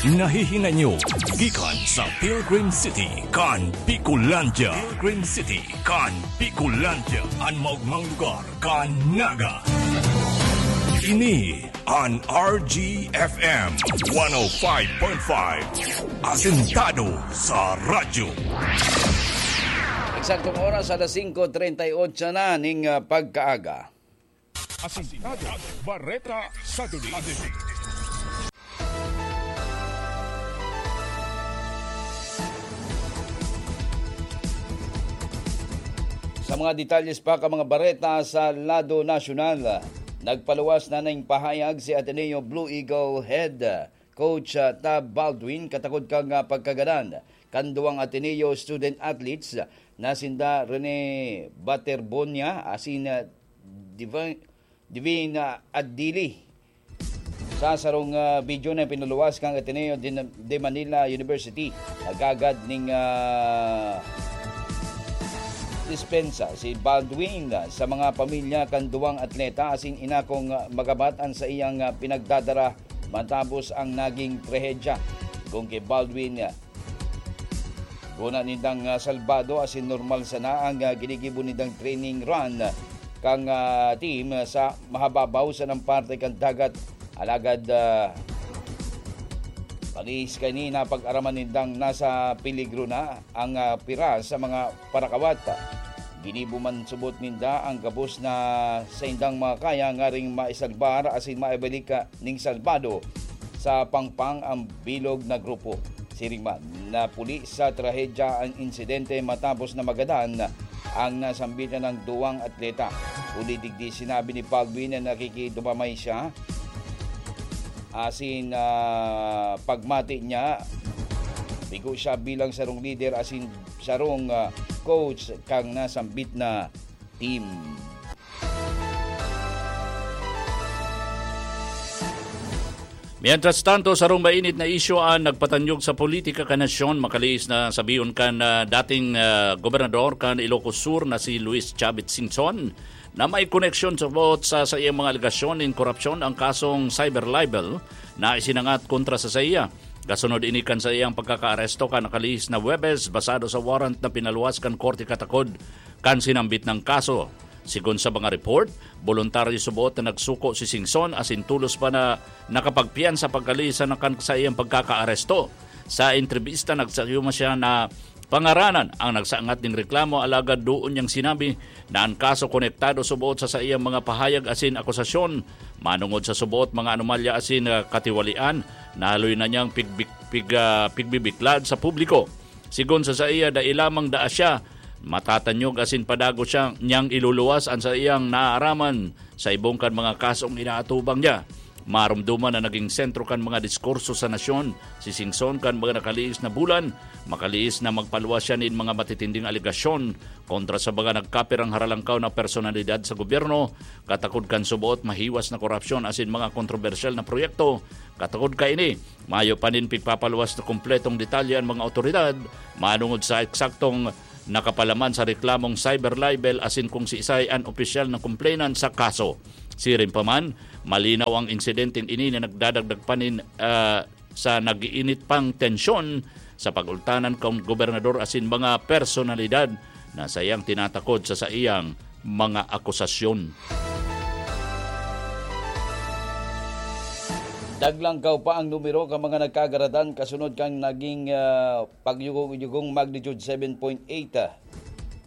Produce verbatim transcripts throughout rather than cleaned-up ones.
Nahihinay nyo gikan sa Pilgrim City kan Bicolandia. Pilgrim City kan Bicolandia, an maogmang lugar kan Naga. Ini an R G F M one oh five point five, asentado sa radyo. Eksaktong oras, alas singko treinta y ocho na ning, ah, pagkaaga. Asentado, Bareta sa Duli. Sa mga detalles pa kan mga bareta sa lado nasyonal, nagpaluwas na ning pahayag si Ateneo Blue Eagle head coach, ah, Tab Baldwin, katakod kan, ah, pagkagadan kan duwang Ateneo student athletes na sinda Rene Baterbonia asin, ah, Divi-, Divine, ah, Adili. Sa sarong, ah, video na pinaluwas kan Ateneo de, de Manila University, nagagad ning, ah, dispensa si Baldwin, ah, sa mga pamilya kan duwang atleta asin inakong, ah, magabat an saiyang, ah, pinagdadara matapos ang naging trahedya. Kun ki Baldwin, ah, guna nindang, ah, salbado asin normal sana ang, ah, ginigibo nindang training run kan, ah, team sa mahababaw sanang parte kan dagat. Alagad, ah, pag-iis kaini, napag-araman nindang nasa peligro na ang, ah, pira sa mga parakawat. Ginibo man subot ninda ang gabos na saindang makakaya ngaring maisalbar asin maibalik, ah, ning salbado sa pangpang ang bilog na grupo. Siring man, napuli sa trahedya ang insidente matapos na magadan ang nasambit na ng duwang atleta. Huli digdi, sinabi ni Baldwin na nakikidumamay siya asin, ah, pagmati niya, bigo siya bilang sarong lider asin sarong, ah, coach kang nasambit na team. Mientras tanto, sarong mainit na isyu an nagpatanyog sa politika kan nasyon, makaliis na sabihon kan, ah, dating, ah, gobernador kan Ilocos Sur na si Luis Chavit Singson, na may koneksyon sa boot sa saiyang mga alegasyon nin korupsyon ang kasong cyber libel na isinangat kontra sa saiya. Kasunod ini kan saiyang pagkakaaresto kan nakalihis na Huwebes, basado sa warrant na pinaluwas kan korte katakod kan sinambit nang kaso. Sigon sa mga report, boluntaryo subot na nagsuko si Singson asin tolos pa na nakapagpiyansa pagkalihis na kan saiyang pagkakaaresto. Sa entrebista, nagsayuma siya na pangaranan ang nagsangat ning reklamo, alagad doon niyang sinabi na an kaso konektado subot sa saiyang mga pahayag asin akusasyon. Manongod sa subot mga anomalya asin, ah, katiwalian, nahaloy na niyang pigbik-, pig-, ah, pigbibiklad sa publiko. Sigon sa saiya, dai lamang daa siya matatanyog asin padagot siya niyang iluluwas an saiyang naaaraman sa ibong kan mga kasong inaatubang niya. Maromdoman na naging sentro kan mga diskurso sa nasyon si Singson kan mga nakalihis na bulan, makaliis na magpaluwas siya nin mga matitinding alegasyon kontra sa mga nagkapirang haralangkaw na personalidad sa gobyerno, katakod kan suboot mahiwas na korupsyon asin mga kontrobersyal na proyekto. Katakod kaini, mayo pa nin pigpapaluwas na kompletong detalye an mga awtoridad manongod sa eksaktong nakapalaman sa reklamong cyber libel asin kung siisay an opisyal na complainant sa kaso. Siring pa man, malinaw ang insidenteng ini na nagdadagdag pa nin, ah, sa nag-iinit pang tensyon sa pag-ultanan kan gobernador asin mga personalidad na saiyang tinatakod sa saiyang mga akusasyon. Naglangkaw pa ang numero kan mga nagkagaradan kasunod kan naging, ah, pagyugong-yugong magnitude seven point eight, ah,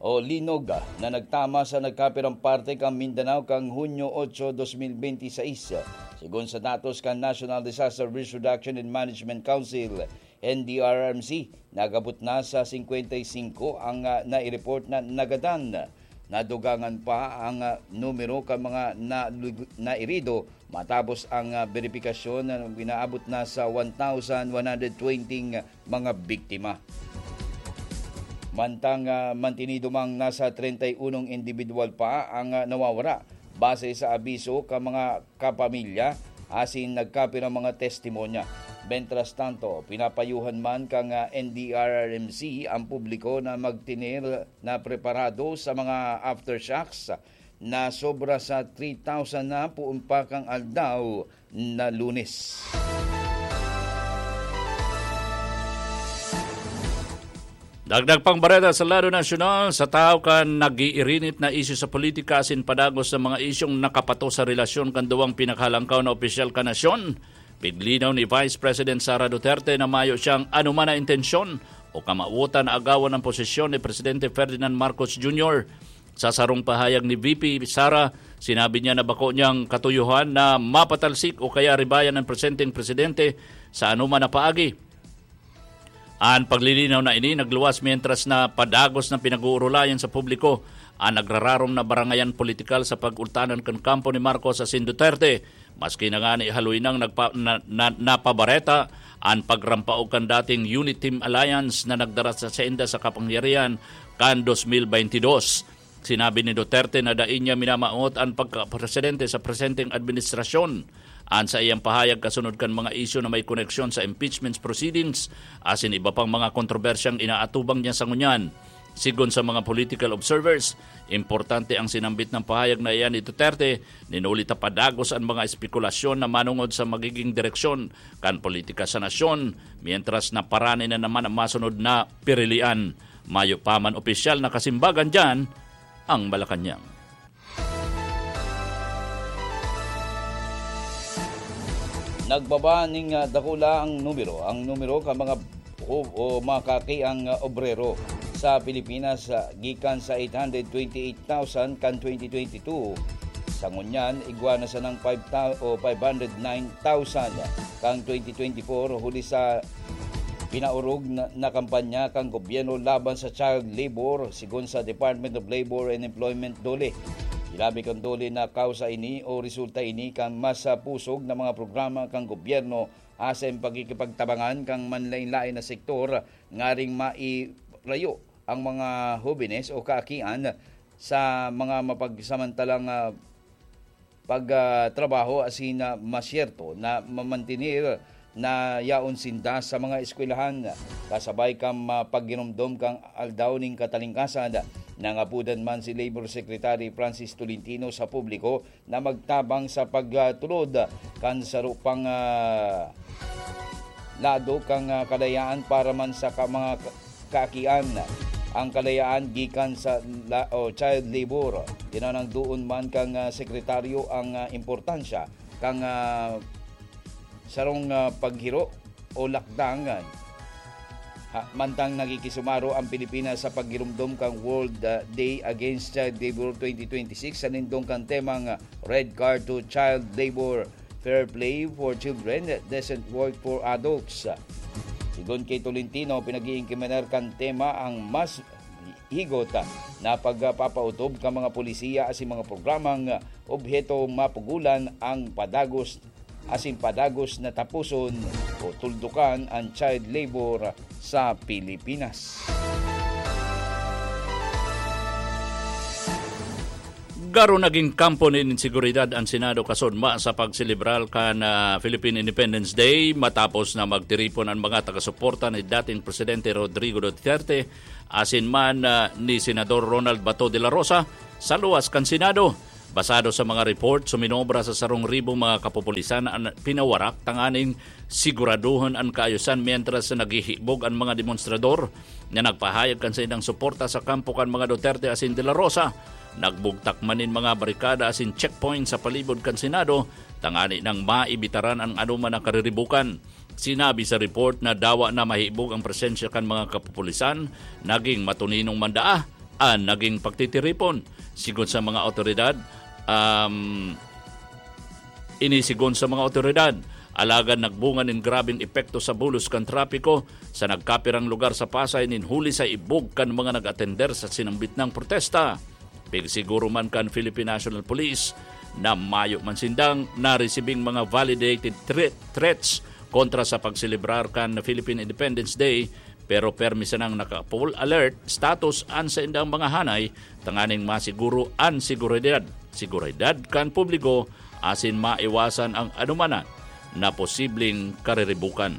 o linog, ah, na nagtama sa nagkapirang parte kan Mindanao kan Hunyo otso, dos mil benti seis. Sigon sa datos kan National Disaster Risk Reduction and Management Council, N D R R M C, nag-abot na sa singkwenta y singko ang, ah, nai-report na nagadan. Nadugangan pa ang, ah, numero kan mga nalugu-, nairido matapos ang, ah, beripikasyon na inaabot na sa one thousand one hundred twenty mga biktima. Mantang, ah, mantinido mang nasa treinta y unong indibidwal pa ang, ah, nawawara, base sa abiso kan mga kapamilya asin nagkapirang mga testimonya. Mientras tanto, pinapayuhan man kan, ah, N D R R M C ang publiko na magtener na preparado sa mga aftershocks na sobra sa three thousand na poon pa kan aldaw na Lunes. Dagdag pang bareta sa lado nasyonal, sa tahaw kan nag-iirinit na isyu sa politika asin padagos na mga isyung nakapatos sa relasyon kan duwang pinakahalangkaw na opisyal kan nasyon, piglinaw ni Vice President Sara Duterte na mayo siyang anoman na intensyon o kamawotan na agawan an posisyon ni Presidente Ferdinand Marcos Junior. Sa sarong pahayag ni V P Sara, sinabi niya na bako niyang katuyohan na mapatalsik o kaya ribayan an presenteng presidente sa anoman na paagi. An paglilinaw na ini nagluwas mientras na padagos na pinag-uurulayan sa publiko an nagrararom na barangayan politikal sa pag-ultanan kan kampo ni Marcos asin Duterte. Maski na ngani haloy nang nagpa-, na, na, napabareta an pagrampaog kan dating Unity Alliance na nagdara sa sainda sa kapangyarihan kan dos mil baynte dos. Sinabi ni Duterte na dai niya minamawot an pagkapresidente sa presenteng administrasyon. An saiyang pahayag kasunod kan mga isyu na may koneksyon sa impeachment proceedings asin iba pang mga kontrobersyang inaatubang niya sa ngunyan. Sigon sa mga political observers, importante ang sinambit na pahayag na iyan ni Duterte, nin huli ta padagos an mga espekulasyon na manongod sa magiging direksyon kan politika sa nasyon, mientras na parani na naman ang masunod na pirilian. Mayo pa man opisyal na kasimbagan diyan ang Malacañang. Nagbaba ning, ah, dakula ang numero, ang numero kan mga hu-, o mga kakiang, ah, obrero sa Pilipinas, ah, gikan sa eight hundred twenty-eight thousand kan twenty twenty-two. Sa ngunyan, igwa na sanang five thou-, o five hundred nine thousand kan twenty twenty-four, huli sa pinaorog na, na kampanya kan gobyerno laban sa child labor, sigon sa Department of Labor and Employment, DOLE. Sinabi kan DOLE na kausa ini o resulta ini kan mas, ah, pusog na mga programa kan gobyerno asin pagkikipagtabangan kan manlaen-laen na sektor ngaring mairayo ang mga hobenes o kaakian sa mga mapagsamantalang, ah, pag, ah, trabaho asin, ah, masyerto na mamantener na yaon sinda sa mga eskwelahan, kasabay kan, ah, pagginumdom kan Aldaw nin Katalingkasan. Nangapodan man si Labor Secretary Francis Tolentino sa publiko na magtabang sa pagtulod kan saro pang, ah, lado kan, ah, kalayaan para man sa ka-, mga ka-, kaakian. Ang kalayaan gikan sa la-, o child labor. Tinanang doon man kan, ah, sekretaryo ang, ah, importansya kan, ah, sarong, ah, paghiro o lakdang, ah, ha, mantang nagkikisumaro ang Pilipinas sa paggiromdom kan World, ah, Day Against Child Labor twenty twenty-six sa nindong kan temang, ah, Red Card to Child Labor, Fair Play for Children, Decent Work for Adults. Sigon ki Tolentino, pinag-iingkimanar kan tema ang mas higot, ah, na pagpapautob kan mga polisiya asin mga programang, ah, obheto mapugulan ang padagos asin padagos na taposon o tuldukan an child labor sa Pilipinas. Garo nagin kampo nin inseguridad an Senado kasunma sa pagselebrar kan, ah, Philippine Independence Day matapos na magtiripon an mga taga-suporta ni dating Presidente Rodrigo Duterte asin man, ah, ni Senador Ronald Bato de la Rosa sa luwas kan Senado. Basado sa mga report, suminobra sa sarong ribong mga kapupulisan an pinawarak tanganing siguraduhon an kaayosan, mientras na naghihibog an mga demonstrador na nagpahayag kan saindang suporta sa kampo kan mga Duterte asin de la Rosa. Nagbugtak man nin mga barikada asin checkpoint sa palibot kan Senado tangani nang maibitaran ang anoman na kariribukan. Sinabi sa report na dawa na mahibog ang presensya kan mga kapupulisan, naging matuninong man daa an naging pagtitiripon. Sigon sa mga awtoridad, um, ini sigon sa mga awtoridad, alagad nagbunga nin grabeng epekto sa bulos kan trapiko sa nagkapirang lugar sa Pasay nin huli sa ibog kan mga nag-atender sa sinambit nang protesta. Pigsiguro man kan Philippine National Police na mayo man sindang naresibing mga validated threat, threats kontra sa pagselebrar kan Philippine Independence Day, pero permi sanang naka-full alert status an saindang mga hanay tanganing masiguro an seguridad, seguridad kan publiko asin maiwasan ang anuman na posibleng kariribukan.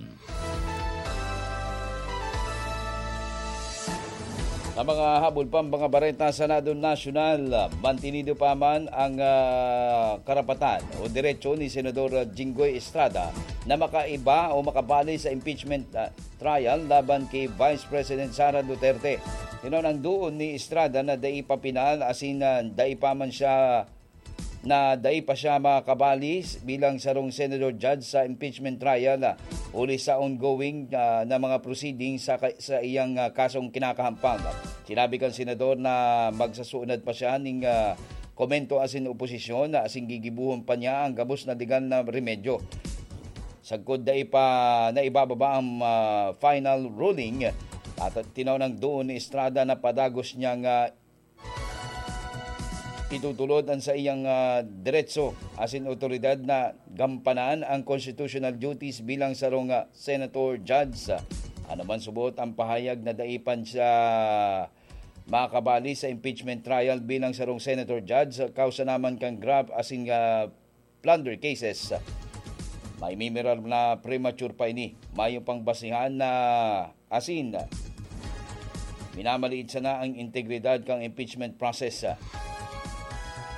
Ang mga habol pa, mga bareta sa lado nasyonal, mantinido pa man ang, ah, karapatan o diretsyo ni Senador Jinggoy Estrada na makaiba o makabali sa impeachment, ah, trial laban ki Vice President Sara Duterte. Tinao nang duon ni Estrada na dai pa pinal, asin, ah, dai pa man siya na dai pa siya makabali bilang sarong senador judge sa impeachment trial, ah, huli sa ongoing, ah, na mga proceedings sa ka-, sa iyang, ah, kasong kinakahampang. Sinabi kan senador na magsasunod pa siya ning, ah, komento asin oposisyon, na asin gigibuhon pa niya ang gabos na legal na remedyo. Sagkod dai pa naibababa ang, ah, final ruling, at tinaw nang duon ni Estrada na padagos niyang, ah, itutulod an saiyang, ah, diretso asin awtoridad na gampanan ang constitutional duties bilang sarong, ah, senator judge. Ano man subot ang pahayag na dai pa siya makabali sa impeachment trial bilang sarong senator judge, kausa naman kan graft asin, ah, plunder cases. May mimiral na premature pa ini. Mayo pang basihan na asin minamaliit sana ang integridad kan impeachment process.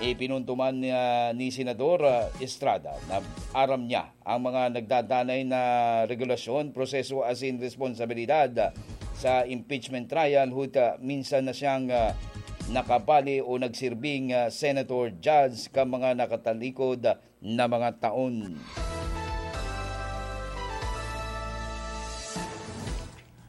Ipinuntuman niya ni Senador, ah, Estrada na aram niya ang mga nagdadanay na regulasyon, proseso asin responsabilidad sa impeachment trial, huta minsan na siyang, ah, nakabali o nagsirbing, ah, senator judge kan mga nakatalikod na mga taon.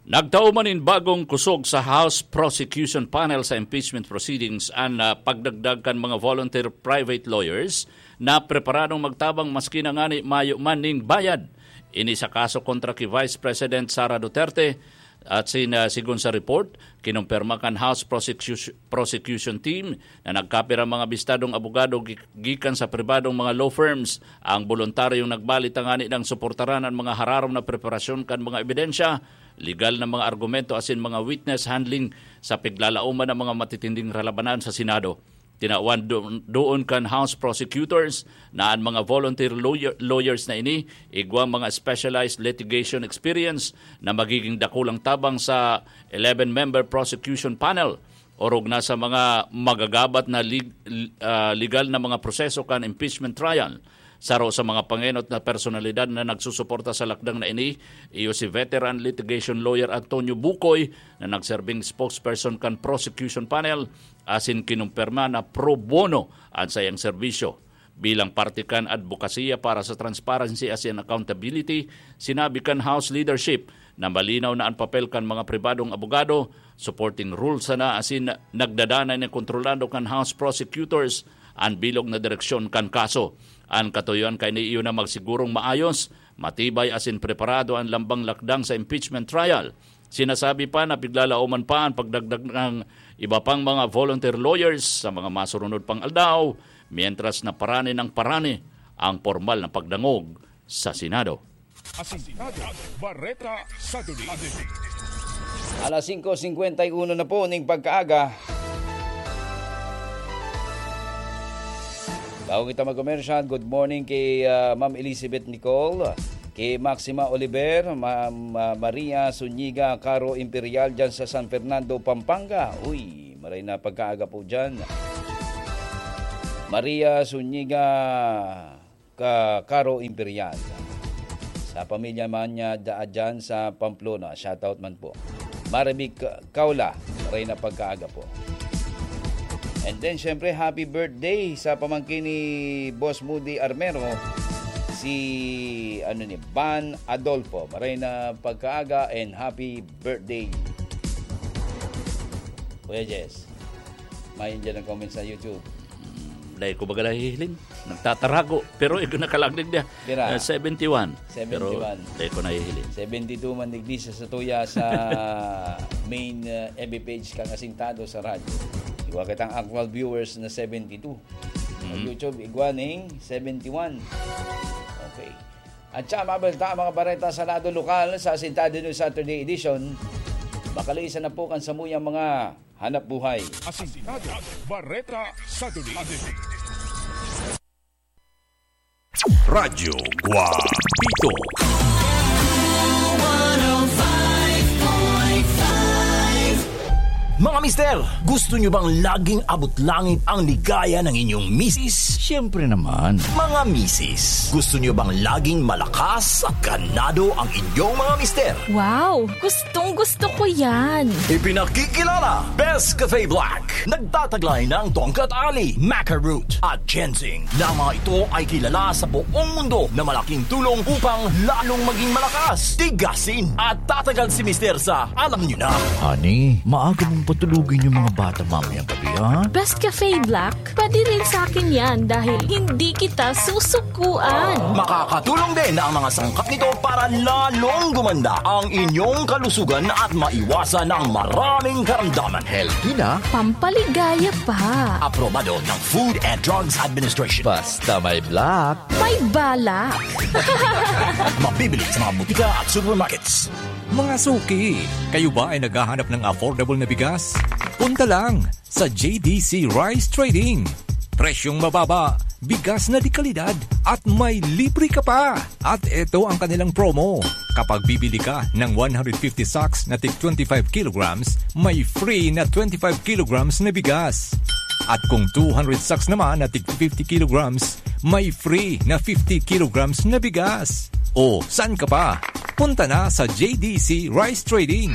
Nagtao man nin bagong kusog sa House Prosecution Panel sa impeachment proceedings an, ah, pagdagdag kan mga volunteer private lawyers na preparadong magtabang maski na ngani mayo man ning bayad. Ini sa kaso kontra ki Vice President Sara Duterte, at sin-, ah, sigon sa report, kinumpirma kan House Prosecution, Prosecution Team na nagkapira mga bistadong abogado gi-, gikan sa pribadong mga law firms ang boluntaryong nagbali tangani nang suportaran an mga hararom na preparasyon kan mga ebidensya, legal na mga argumento asin mga witness handling sa piglalaoman ng mga matitinding ralabanan sa Senado. Tinawan do-, doon kan House prosecutors na an mga volunteer lawyer-, lawyers na ini igwang mga specialized litigation experience na magiging dakulang tabang sa eleven-member prosecution panel, orog na sa mga magagabat na lig-, ah, legal na mga proseso kan impeachment trial. Saro sa mga pangenot na personalidad na nagsusuporta sa lakdang na ini, iyo si veteran litigation lawyer Antonio Bucoy, na nagserbing spokesperson kan prosecution panel, asin kinumpirma na pro bono an saiyang serbisyo. Bilang parte kan adbokasiya para sa transparency asin accountability, sinabi kan House leadership na malinaw na an papel kan mga pribadong abogado, supporting rule sana asin nagdadanay na kontrolado kan House prosecutors an bilog na direksyon kan kaso. An katuyoan kaini iyo na magsigurong maayos, matibay asin preparado an lambang lakdang sa impeachment trial. Sinasabi pa na piglalaoman pa an pagdagdag ng iba pang mga volunteer lawyers sa mga masurunod pang aldaw, mientras na parani ng parani ang pormal na pagdangog sa Senado. Asintado, Bareta sa Duli. Alas singko singkwenta y uno na po ning pagkaaga. Bago kita mag-commercial, good morning kay, ah, Ma'am Elizabeth Nicole, kay Maxima Oliver, Ma'am, ah, Maria Zuniga, Caro Imperial dyan sa San Fernando, Pampanga. Uy, maray na pagkaaga po dyan. Maria Zuniga, ka Caro Imperial. Sa pamilya man niya, daa dyan sa Pamplona. Shoutout man po. Marivic Kaula, maray na pagkaaga po. And then, syempre, happy birthday sa pamangkin ni Boss Moody Armero, si, ano ni, Van Adolfo. Maray na pagkaaga and happy birthday, Kuya Jess. May dyan ang comment sa YouTube. Hmm, dai ko baga nahihiling. Nagtatarago. Pero ikaw nakalaglig niya. Pira? Eh, seventy-one. Pero seventy-one. Dai ko nahihiling. Seventy-two man digdi sa satuya sa main, uh, F B page kan Asintado sa Radyo. Igwa kitang actual viewers na seventy-two. Sa Mhm. YouTube, igwa ning seventy-one. Okay. At siya, mabalta ang mga bareta sa lado lokal sa Asintado News Saturday Edition. Makalisan na po kan samuyang mga hanap buhay. Asintado, Bareta sa Duli. Radyo Guapito. Mga Mister, gusto nyo bang laging abot langit ang ligaya ng inyong misis? Siyempre naman. Mga misis, gusto nyo bang laging malakas at ganado ang inyong mga mister? Wow! Gustong gusto ko yan! Ipinakikilala, Best Cafe Black. Nagtataglay ng Tongkat Ali, Maca Root, at Ginseng. Na mga ito ay kilala sa buong mundo na malaking tulong upang lalong maging malakas, tigasin, at tatagal si Mister sa alam nyo na. Honey, maaga mong patulugin yung mga bata mamayang gabi, ha? Best Cafe Black, pwede rin sa akin yan dahil hindi kita susukuan. Makakatulong din ang mga sangkap nito para lalong gumanda ang inyong kalusugan at maiwasan ang maraming karamdaman. Healthy na, Pampaligaya pa. Aprobado ng Food and Drugs Administration. Basta may black, May balak. Mabibili sa mga butika at supermarkets. Mga suki, kayo ba ay naghahanap ng affordable na bigas? Punta lang sa J D C Rice Trading. Presyong mababa, bigas na de kalidad, at may libre ka pa! At ito ang kanilang promo. Kapag bibili ka ng one hundred fifty sacks na tig twenty-five kilograms, may free na twenty-five kilograms na bigas. At kung two hundred sacks naman na tig fifty kilograms, may free na fifty kilograms na bigas. O, saan ka pa? Punta na sa J D C Rice Trading.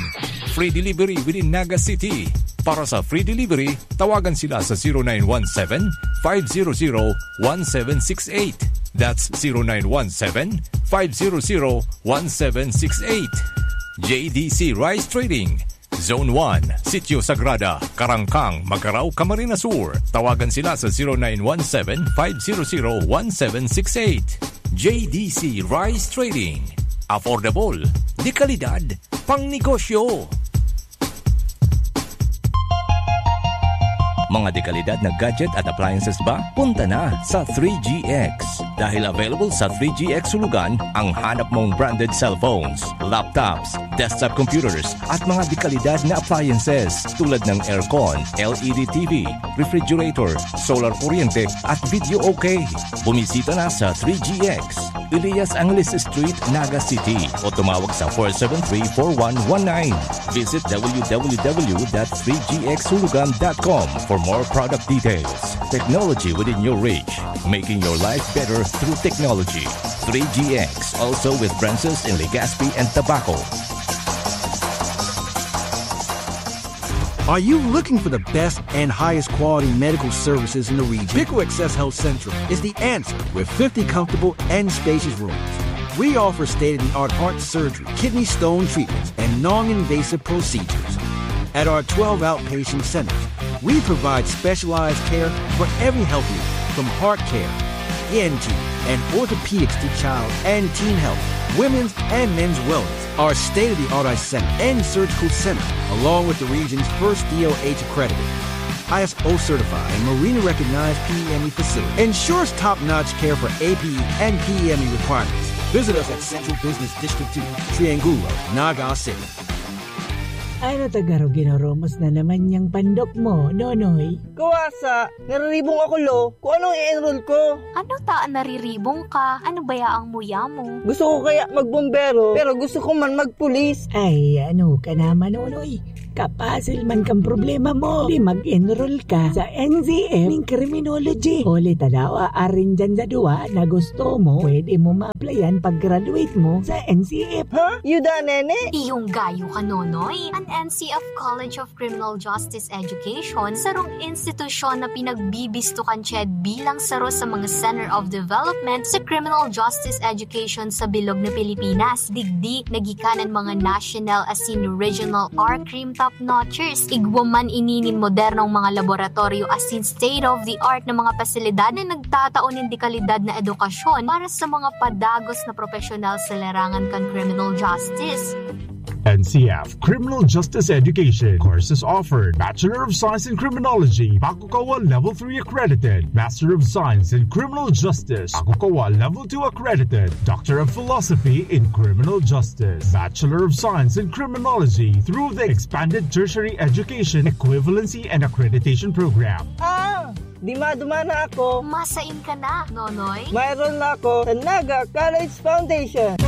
Free delivery within Naga City. Para sa free delivery, tawagan sila sa zero nine one seven, five zero zero, one seven six eight. That's zero nine one seven, five zero zero, one seven six eight. J D C Rice Trading, Zone one, Sitio Sagrada, Karangkang, Magarao, Camarines Sur. Tawagan sila sa zero nine one seven, five zero zero, one seven six eight. J D C Rice Trading. Affordable, de kalidad, pangnegosyo. Mga dekalidad na gadget at appliances ba? Punta na sa three G X. Dahil available sa three G X Hulugan ang hanap mong branded cellphones, laptops, desktop computers, at mga dekalidad na appliances tulad ng aircon, L E D T V, refrigerator, solar kuryente, at video okay. Bumisita na sa three G X, Elias Angeles Street, Naga City, o tumawag sa four seven three, four one one nine. Visit W W W dot three G X hulugan dot com for more product details. Technology within your reach, making your life better through technology. Three G X, also with branches in Legazpi and Tabaco. Are you looking for the best and highest quality medical services in the region? Pico Access Health Central is the answer with fifty comfortable and spacious rooms. We offer state of the art heart surgery, kidney stone treatments, and non invasive procedures. At our twelve outpatient centers, we provide specialized care for every health need, from heart care, E N T, and orthopedics to child and teen health, women's and men's wellness. Our state of the art eye center and surgical center, along with the region's first D O H accredited, I S O certified, and Marina recognized P E M E facility, ensures top notch care for A P E and P E M E requirements. Visit us at Central Business District two, Triangulo, Naga City. Ano ta garo, ginurumos na naman yang pandok mo, Nonoy? Kawasa, nariribong ako, lo. Kung anong i-enroll ko. Ano ta an nariribong ka? Ano baya ang muya mo? Gusto ko kaya magbombero, pero gusto ko man magpulis. Ay, ano ka naman, Nonoy? Kapasil man kang problema mo. Di mag-enroll ka sa N C F ning criminology. Huli ta daw, arin dyan sa duwa na gusto mo, pwede mo ma-applyan pag-graduate mo sa N C F. Ha? Yuda, nene? Iyong gayo ka, Nonoy. An N C F College of Criminal Justice Education, sarong institusyon na pinagbibisto kan CHED bilang saro sa mga Center of Development sa Criminal Justice Education sa bilog na Pilipinas. Digdi, nagikanan mga national asin regional R-Crim top notchers. Igwa man ini nin modernong mga laboratoryo asin state-of-the-art na mga pasilidad na nagtatao nin dekalidad na edukasyon para sa mga padagos na propesyonal sa larangan kan criminal justice. N C F, Criminal Justice Education. Courses offered: Bachelor of Science in Criminology, Bakukawa Level three accredited; Master of Science in Criminal Justice, Bakukawa Level two accredited; Doctor of Philosophy in Criminal Justice, Bachelor of Science in Criminology through the Expanded Tertiary Education Equivalency and Accreditation Program. Ah! Di madumana ako. Masain ka na, Nonoy. Mayroon na ako sa Naga College Foundation.